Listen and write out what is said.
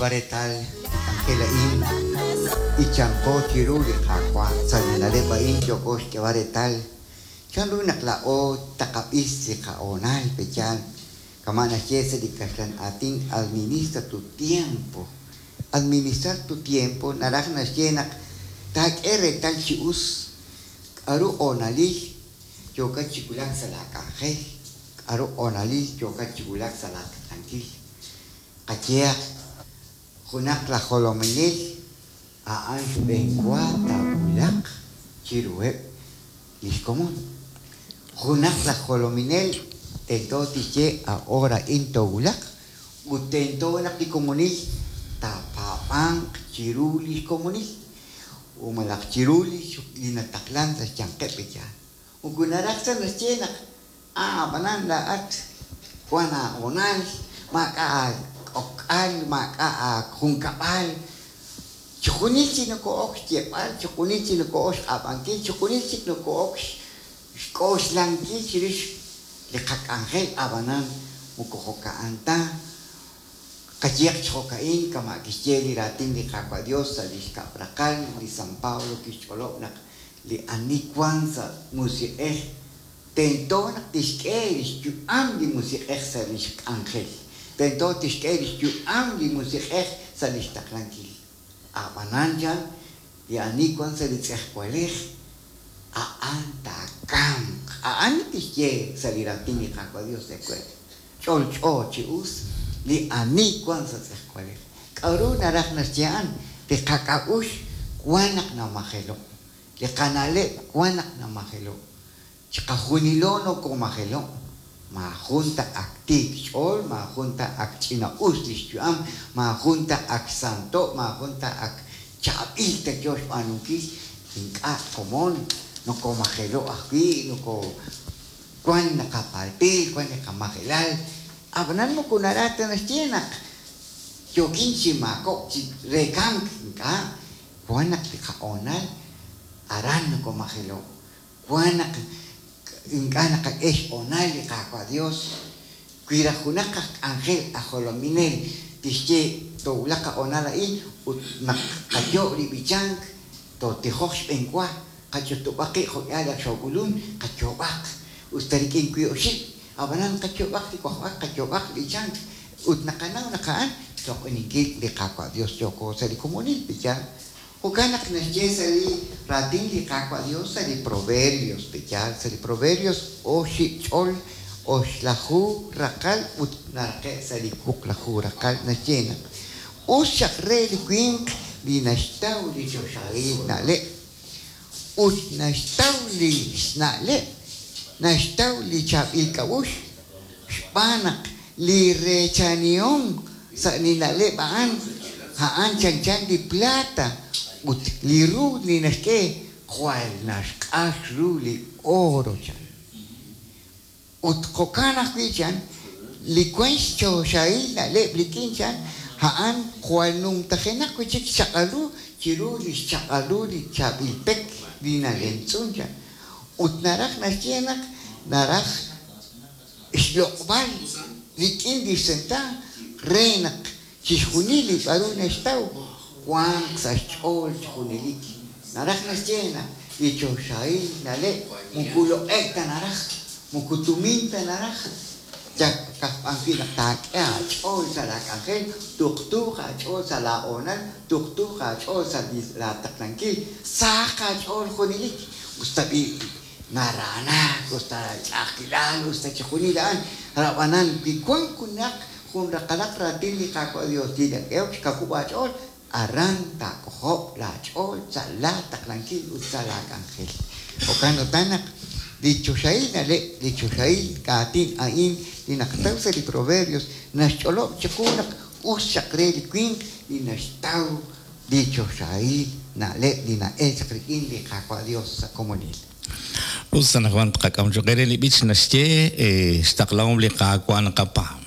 Retal k'anjel a'in b'ichanqo chiru li Qaawa'. Sa' li na'leb' a'in yooko xk'eeb'al reetal chanru naq laa'o taqab'is li qahoonal pe'yaal, kama' naxye sa' li kaxlan aatin administra tu tiempo. Administrar tu tiempo naraj naxye naq taak'e reetal chi us k'a'ru hoonalil yookat chi wulak sa' laa k'anjel, k'a'ru hoonalil yookat chi wulak sa' laa taqankil. Qayehaq, junaq laj jolominel a'an xb'een wa taawulaq chiruheb' lix komon. Junaq laj jolominel tento tixye a hora a'in toowulaq ut tento naq li komonil taapaab'anq chiru lix komonil u malaj chiru li nataqlan sa' xyanqeb' li yaal. Moko naraj ta naxye naq a'b'anan laa'at wan aahoonal, maak'a' aak'ok'al, maak'a' aajunkab'al. Chixjunil chik noko'ok xyeeb'al, chixjunil chik noko'ok xq'ab'ankil, chixjunil chik noko'ok xk'oxlankil chirix li qak'anjel, ab'anan moko jo'ka'an ta. Qayehaq chi jo'ka'in, kama' kixye li raatin li Qaawa' Dios sa' li xkab' raqal, li San Pablo kixch'olob' naq li ani wank sa' musiq'ej tento naq tixk'e li xyu'am li musiq'ej sa' li xk'anjel, tento tixk'e li xyu'am li musiq'ej sa' li xtaqlankil. Ab'anan chan, li ani wank sa' li tz'ejwalej a'an taakamq. A'an li kixye sa' li raatin li Qaawa' Dios ewe'. Ch'olch'o chi us li ani wank sa' tz'ejwalej. K'a'ru naraj naxye a'an? Li qak'a'uxl wan naq namajelo'. Li qana'leb' wan naq namajelo'. Chiqajunilo nokomajelo'. Maajun ta ak tiik xch'ool, maajun ta ak ch'ina-us lix yu'am, maajun ta ak santo', maajun ta ak chaab'il ta yoo xb'aanunkil. Ink'a' komon, nokomajelo' ajwi', noko wan naqapaltil, wan li qamajelal. Ab'anan moko naraj ta naxye naq yookin chi maakob'k chi re kamk, ink'a', wan naq li qahoonal aran nokomajelo', wan naq ink'a' naqak'e xhoonal li Qaawa' Dios. Wi raj junaq aj k'anjel aj jolominel tixye toowulaq qahoonal a'in ut naq qayo' li b'ichank, tootijoq xb'eenwa, qach'utub'aq qib' jo'k'ihal ak xook'ulun, qayoob'aq, us ta rik'in wiib' oxib', ab'anan qayoob'aq li wajb'ak, qayoob'aq li b'ichank, ut naqanaw naq a'an xloq'oninkil li Qaawa' Dios yooko sa' li komonil pe'yaal. Jo'kan naq naxye sa' li raatin li Qaawa' Dios sa' li Proverbios pe'yaal, sa' li Proverbios oxib' ch'ol oxlaju raqal ut naraqe' sa' li wuqlaju raqal naxye naq us xaq re li winq li naxtaw li choxahil na'leb' ut naxtaw li xna'leb', naxtaw li chaab'il k'a'uxl, xb'aan naq li reechanihom sa' li na'leb' a'an, a'an chanchan li plata ut li ru li naxk'e jwal naxq'ax ru li oro chan. Ut jo'kan ajwi' chan, li wank xchoxahil na'leb' rik'in chan, a'an jwal numtajenaq wi' chik xchaq'al ru chiru li xchaq'al ru li chaab'il pek li nalemtz'un chan. Ut naraj naxye naq naraj xloq'b'al rik'in li xsenta re naq chixjunil li k'a'ru naxtaw wanq sa' xch'ool chi junelik. Naraj naxye naq li choxahil na'leb' moko loq'e'k ta naraj, moko tumin ta naraj, yal ka'aj wi' naq taak'e aach'ool sa' laa k'anjel, tuqtuuq aach'ool sa' laa hoonal, tuqtuuq aach'ool sa' laa taqlankil, sahaq aach'ool junelik, us ta b'i' naraanak, us ta ch'a'ajkilal, us ta chixjunil a'an. Ab'anan wi wank junaq jun raqalaq raatin li Qaawa' Dios li nak'ehok xkawub' aach'ool, aran taak'ojob' laach'ool sa' laa taqlankil ut sa' laa k'anjel. Jo'kan utan naq li choxahil na'leb', li choxahil aatin a'in li naqataw sa' li Proverbios naxch'olob' chiqu naq us xaq re li winq li naxtaw li choxahil na'leb' li na'elk chaq rik'in li Qaawa' Dios sa' komonil. Us anaqwan tqak'am cho'q eere li b'ich naxye xtaqlahom li Qaawa' naqapaab'.